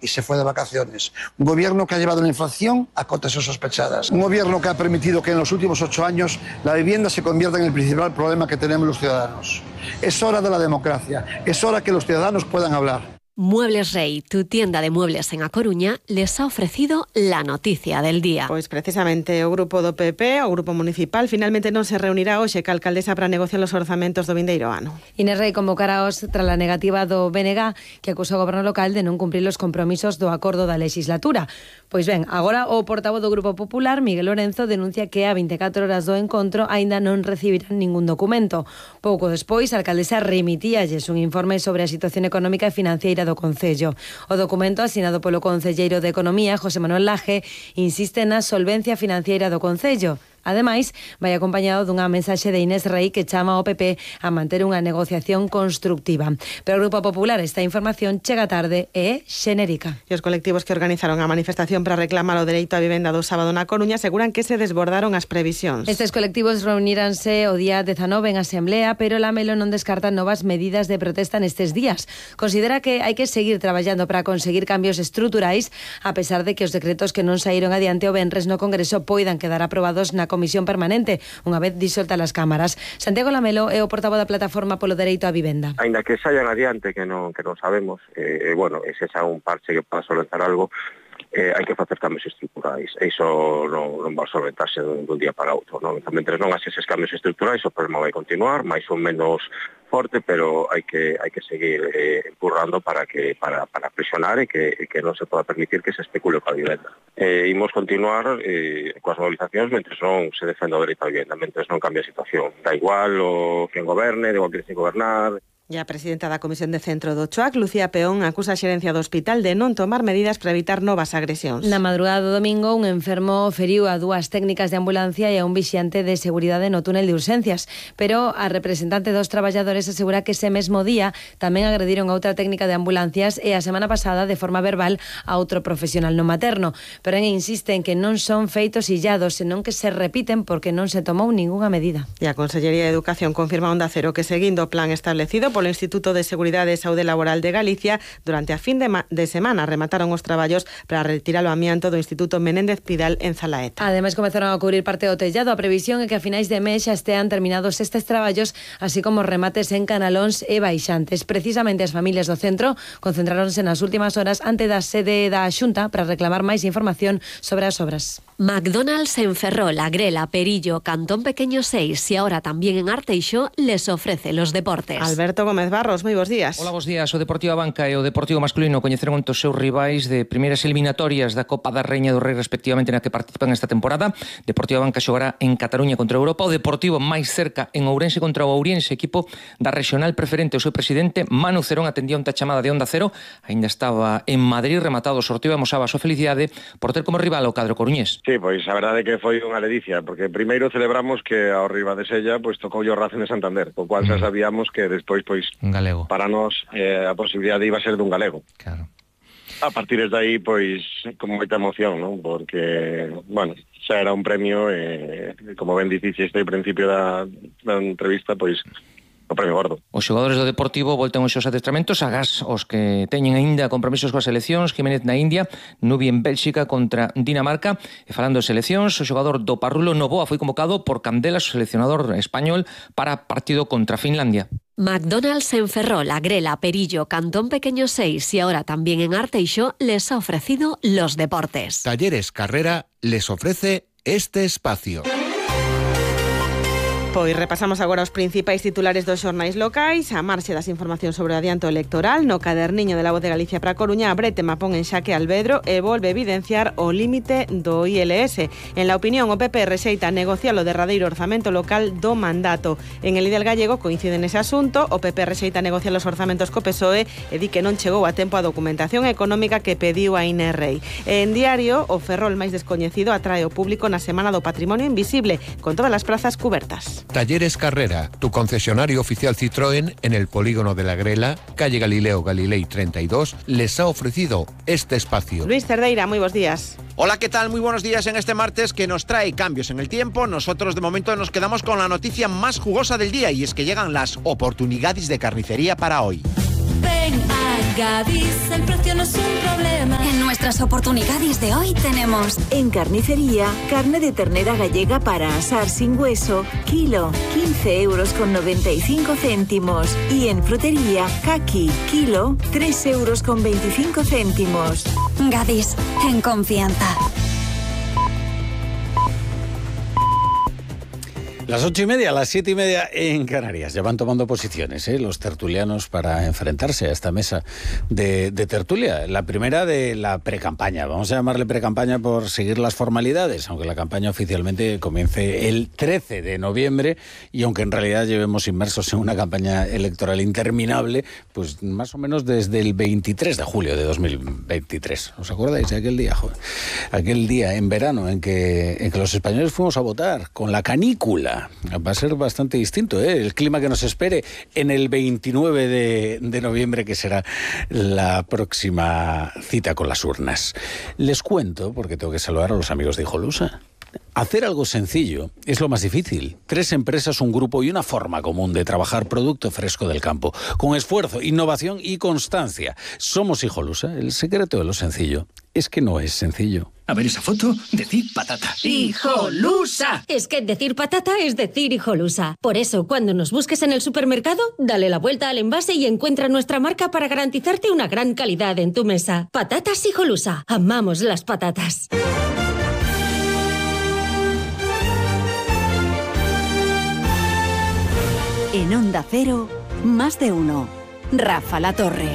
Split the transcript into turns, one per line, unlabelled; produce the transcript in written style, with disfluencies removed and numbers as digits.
y se fue de vacaciones. Un gobierno que ha llevado la inflación a cotas insospechadas. Un gobierno que ha permitido que en los últimos 8 años la vivienda se convierta en el principal problema que tenemos los ciudadanos. Es hora de la democracia. Es hora que los ciudadanos puedan hablar.
Muebles Rey, tu tienda de muebles en A Coruña, les ha ofrecido la noticia del día.
Pois precisamente o grupo do PP, o grupo municipal, finalmente non se reunirá hoxe ca alcaldesa para negociar os orzamentos do vindeiro ano.
Inés Rei convocaraos tras a negativa do BNG que acusa o goberno local de non cumprir os compromisos do acordo da legislatura. Pois ben, agora o portavoz do Grupo Popular, Miguel Lorenzo, denuncia que a 24 horas do encontro aínda non recibirán ningún documento. Pouco despois, a alcaldesa remitíalles un informe sobre a situación económica e financiera do Concello. O documento, asinado polo concelleiro de Economía, José Manuel Laje, insiste na solvencia financiera do Concello. Ademais, vai acompañado dunha mensaxe de Inés Rei que chama ao PP a manter unha negociación constructiva. Pero o Grupo Popular, esta información chega tarde e é xenérica.
E os colectivos que organizaron a manifestación para reclamar o dereito á vivenda do sábado na Coruña aseguran que se desbordaron as previsións.
Estes colectivos reuníranse o día 19 en Asamblea, pero Lamelo non descarta novas medidas de protesta nestes días. Considera que hai que seguir traballando para conseguir cambios estruturais, a pesar de que os decretos que non saíron adiante o venres no Congreso poidan quedar aprobados na Comisión Permanente, unha vez disoltas as cámaras. Santiago Lamelo é o portavoz da Plataforma polo Dereito á Vivenda.
Ainda que saian adiante, que non sabemos, ese xa un parche que para solventar algo, hai que facer cambios estruturais. E iso non vai solventarse dun día para outro. Non? Mentre non haxe eses cambios estruturais, o problema vai continuar, máis ou menos forte, pero hai que seguir empurrando para presionar e que non se poda permitir que se especule coa vivenda. Imos continuar coas movilizacións mentre non se defenda o dereito á vivenda, mentre non cambia a situación. Da igual o quen goberne, da igual quen sin gobernar.
E a presidenta da Comisión de Centro do CHOAC, Lucía Peón, acusa a xerencia do hospital de non tomar medidas para evitar novas agresións.
Na madrugada do domingo, un enfermo feriu a 2 técnicas de ambulancia e a un vixiante de seguridade no túnel de urxencias, pero a representante dos traballadores asegura que ese mesmo día tamén agrediron a outra técnica de ambulancias e a semana pasada de forma verbal a outro profesional no materno, pero insiste en que non son feitos illados, senón que se repiten porque non se tomou ningunha medida.
E a Consellería de Educación confirma a Onda Cero que seguindo o plan establecido polo Instituto de Seguridade e Saúde Laboral de Galicia, durante a fin de semana remataron os traballos para retirar o amianto do Instituto Menéndez Pidal en Zalaeta.
Ademais, comezaron a cubrir parte do tellado. A previsión é que a finais de mes xa estean terminados estes traballos, así como remates en canalóns e baixantes. Precisamente as familias do centro concentráronse nas últimas horas ante da sede da Xunta para reclamar máis información sobre as obras.
McDonald's en Ferrol, Agrela, Perillo, Cantón Pequeño 6 y ahora también en Arteixo les ofrece los deportes.
Alberto Gómez Barros, moi bos días.
Hola, bos días. O Deportivo Abanca e o Deportivo Masculino coñeceron os seus rivais de primeiras eliminatorias da Copa da Reina do Rei respectivamente na que participan esta temporada. Deportivo Abanca xogará en Cataluña contra Europa, o Deportivo máis cerca en Ourense contra o Ourense, equipo da regional preferente. O seu presidente Manu Cerón atendía unha chamada de Onda Cero, aínda estaba en Madrid rematado o sorteo e amosaba a súa felicidade por ter como rival o cadro coruñés.
Sí, pois a verdade é que foi unha ledicia, porque primeiro celebramos que ao rival de Sella pois tocou o Racing de Santander, co cual xa sabíamos que despois pois
un galego.
Para nós a posibilidade iba a ser dun galego.
Claro.
A partir de aí pois con moita emoción, non? Porque, bueno, xa era un premio como ben diciste ao principio da entrevista, pois o premio gordo.
Os xogadores do Deportivo voltan os seus adestramentos, agás os que teñen aínda compromisos coas seleccións, Jiménez na India, Nubi en Bélxica contra Dinamarca. E falando de seleccións, o xogador do Parrulo Novoa foi convocado por Candelas, o seleccionador español, para partido contra Finlandia.
McDonald's en Ferrol, Agrela, Perillo, Cantón Pequeño 6 y ahora también en Arteixo les ha ofrecido los deportes.
Talleres Carrera les ofrece este espacio.
Pois repasamos agora os principais titulares dos xornais locais. A marxe das informacións sobre o adianto electoral, no caderniño de La Voz de Galicia para a Coruña, a Bretema pon en xaque Albedro e volve evidenciar o límite do ILS. En La Opinión, o PP rexeita negociar o derradeiro orzamento local do mandato. En El Ideal Gallego coincide nese asunto, o PP rexeita negociar os orzamentos co PSOE e di que non chegou a tempo a documentación económica que pediu a Inés Rei. En Diario, o Ferrol máis descoñecido atrae o público na Semana do Patrimonio Invisible, con todas as plazas cubertas.
Talleres Carrera, tu concesionario oficial Citroën en el polígono de la Grela, calle Galileo Galilei 32, les ha ofrecido este espacio.
Luis Cerdeira, muy buenos días.
Hola, ¿qué tal? Muy buenos días en este martes que nos trae cambios en el tiempo. Nosotros de momento nos quedamos con la noticia más jugosa del día y es que llegan las oportunidades de carnicería para hoy.
Ven a Gadis, el precio no es un problema.
En nuestras oportunidades de hoy tenemos:
en carnicería, carne de ternera gallega para asar sin hueso, kilo, 15,95 €. Y en frutería, caqui, kilo, 3,25 €.
Gadis, en confianza.
Las 8:30, las 7:30 en Canarias. Ya van tomando posiciones los tertulianos para enfrentarse a esta mesa de tertulia. La primera de la precampaña. Vamos a llamarle precampaña por seguir las formalidades, aunque la campaña oficialmente comience el 13 de noviembre y aunque en realidad llevemos inmersos en una campaña electoral interminable, pues más o menos desde el 23 de julio de 2023. ¿Os acordáis de aquel día? Joder? Aquel día en verano en que los españoles fuimos a votar con la canícula. Va a ser bastante distinto, el clima que nos espere en el 29 de noviembre, que será la próxima cita con las urnas. Les cuento, porque tengo que saludar a los amigos de Hijolusa. Hacer algo sencillo es lo más difícil. 3 empresas, un grupo y una forma común de trabajar producto fresco del campo, con esfuerzo, innovación y constancia. Somos Hijolusa. El secreto de lo sencillo es que no es sencillo.
A ver esa foto, decir patata.
¡Hijolusa! Es que decir patata es decir Hijolusa. Por eso, cuando nos busques en el supermercado, dale la vuelta al envase y encuentra nuestra marca para garantizarte una gran calidad en tu mesa. Patatas Hijolusa. Amamos las patatas.
En Onda Cero, más de uno. Rafa La Torre.